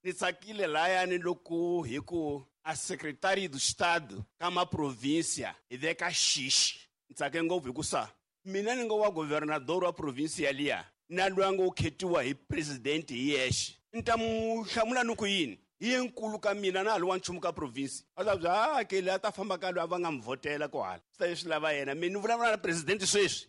Ni tsakile layani loko hi ku a secretary do estado ka maprovinsia hi veka xixi. Ni tsake ngopfu hikusa mina ni nga wa governador wa provinsia liya na loyi a ngo khetiwa hi president hi yexe, ni ta mu hlamula ni ku yini? Hi ye nkulu ka mina, na ha li wa nchumu ka province. A ta bya a ke leyi a ta famba ka loyi a va nga mi vhotela ko hala, swi ta leswi lava yena. Mi ni vulavula na president sweswi.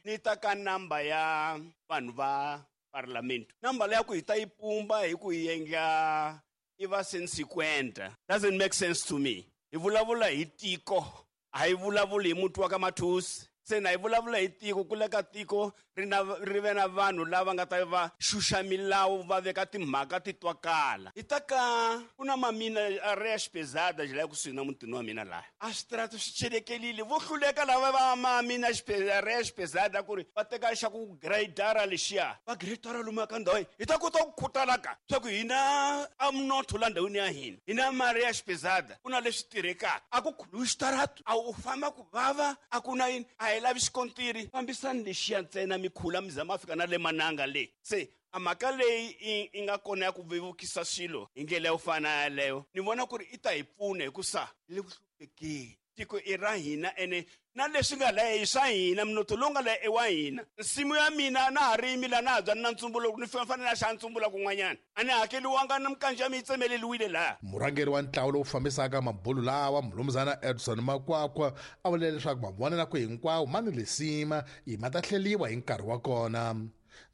Ni ta ka namba ya vanhu va parlamento, namba leyi ya ku hi ta yi pumba hi ku yi endla i va 150 doesn't make sense to me. Hi vulavula hi tiko, a hi vulavuli hi muti wa ka Mathusi. Se na hi vulavula hi tiko, ku le ka tiko ri na ri ve na vanhu lava nga ta va xuxa milawu, va veka timhaka ti twakala. Hi ta ka ku na mamina areas pesadas laha kusuhi na mutini wa mina, laha a switarata swi celekelile. Vo hluleka lava va mamina areas pesada ku ri va teka xa ku gradara lexiya, va gradara lomu ka ndhawu hi ta kota ku khutalaka swa ku hina a mnotho la ndhawini ya hina, hina maareas pesada ku na leswi tirhekaka. A ku khuluwi xitaratu, a u famba ku vava, a ku na yini, a hi lavi xikontiri, fambisani lexiya ntsena, mi khula mi zama fika na le mananga le. Se a mhaka leyi i nga kona ya ku vevukisa swilo hi ndlela yo fana yaleyo, ni vona ku ri i ta hi pfuna, hikusa le ku hluphekeni tiko i ra hina, ene na leswi nga laya i swa hina, mnotho lowu nga laya i wa hina. Nsimu ya mina na ha rimi laha, na ha byani na ntsumbu, loko ni fanele na xa ntsumbula kun'wanyana a ni hakeliwanga, na mikanji ya mi yi tsemeleliwile laha. Murhangeri wa ntlawa lowu fambisaka mabulu lawa, Mulumuzana Edson Makwakwa, a vule leswaku mavonelo hinkwawo ma ni lisima i ma ta hleliwa hi nkarhi wa kona.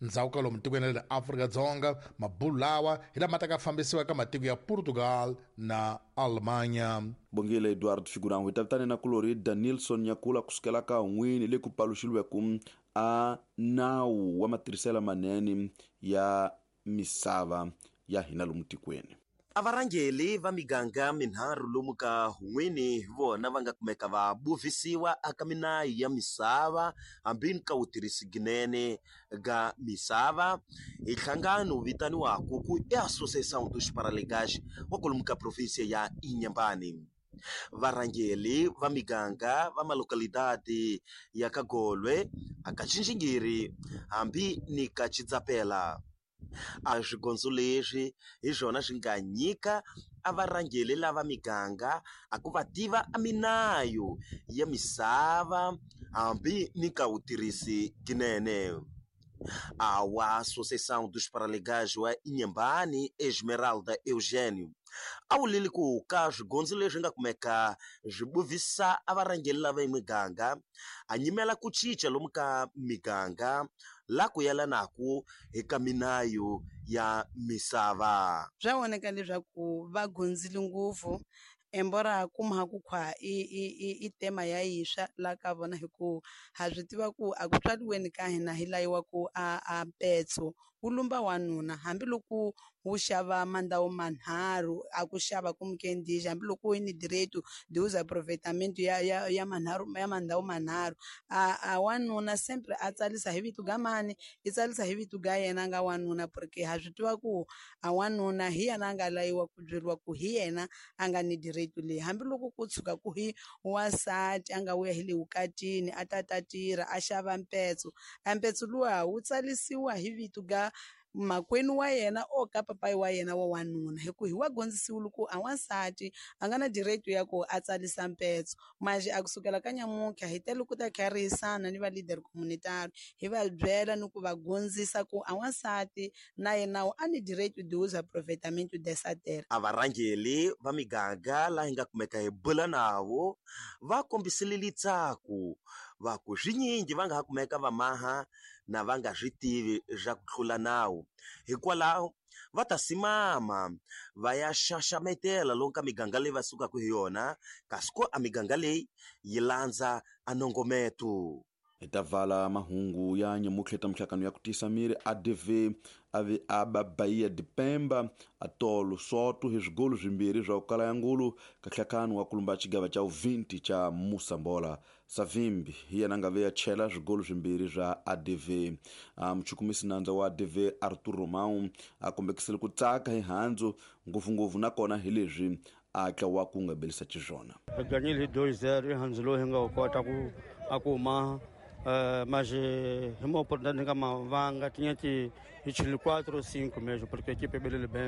Ndzhaku ka lomu tikweni ra le Afrika-Dzonga, mabulu lawa hi lama ta ka fambisiwa ka matiko ya Portugal na Alemanya. Bongile Edward Figurango. Hi ta vitane na kulori Danilson Nyakula kusukela ka n'wini le ku paluxiliweke a nawu wa matirhiselo manene ya misava ya hina lomu tikweni. A varhangeli va miganga minharhu lomu ka Hun'wini hi vona va nga kumeka va buvisiwa aka minayu ya misava hambi ni ka wutirhisi ginene ga misava hi nhlangano wu vitaniwaku ku i Associação dos Paralegais wa kwalomu ka província ya Inhambane. Varhangeli va miganga va malocalidade ya ka Golwe, aka Xinxingiri hambi ni ka Chidzapela. A swigondzo leswi hi swona swi nga nyika a varhangeli lava miganga a ku va tiva a minayu ya misava hambi ni ka wutirhisi ginene. A wa Associação dos Paralegais wa Inhambane, Esmeralda Eugênio, a wulile ku ka swigondzo leswi nga kumeka swi buvisa a varhangeli lava miganga a nyimela ku cinca lomu ka miganga la ku yelanaku eka minayu ya misava. Swa voneka leswaku va gondzile ngopfu, embora kuma ku khwa i tema ya yiswa la ka vona, hi ku ha swi tiva ku a ku tswaliweni ka hina hi layiwa ku a mpetso wu lumba wanuna, hambiloko wu xava mandhawu manharhu a ku xava ku mukendixi, hambiloko yi ni direito de uso aproveitamento ya manharhu ya mandhawu manharhu, a wanuna sempre a tsalisa hi vito ga mani, i tsalisa hi vito ga yena nga wanuna, porque ha swi tiva ku a wanuna hi yena a nga layiwa ku byeriwa ku hi yena a nga ni direito leyi. Hambiloko ku tshuka ku hi wansati a nga vuya hi le vukatini a ta ta tirha a xava mpetso, a mpetso luwa wu tsalisiwa hi vito ga makwenu wa yena o ka papayi wa yena wa wanuna, hi ku hi wa gondzisiwile ku a wansati a nga na direito ya ku a tsalisa mpetso. Manje a kusukela ka nyamuntlha hi tele ku ta kharisana ni va leader communitary, hi va byela ni ku va gondzisa ku a wansati na yena a ni direito de uso aproveitamento dessa terra. A varhangeli va miganga laha hi nga kumeka hi bula navo va kombisile litsaku va ku swinyingi va nga ha kumeka va maha na va nga swi tivi swa ku tlula nawu, hikwalaho va ta simama va ya xaxametela lomu ka miganga leyi va sukaka hi yona, kasi ko a miganga leyi yi landza a nongometo. Hi ta vala mahungu ya nyamutlha mihlangano ya ku tisa miri ADV a ve a ba Bahia de Pemba a tolo soto hi swigolo swimbirhi swa ku kala ya ngulu ka nhlangano wa kulumba xigava xa 20 xa Moçambola. Savimbi hi yena a nga ve ya chela swigolo swimbirhi swa ADV. Muchukumisi nandza wa ADV Arthur Romão a kombekisile ku tsaka hi handzu ngopfungopfu nakona hi leswi a tlawa ku nga belisa xiswona. Hi ganyile hi 2-0 i handzu lowu hi nga wu kota ku a ku ma mas hi uma oportunidade nga mavanga tinha que hi chile 4 ou 5 mesmo, porque a equipe é bem.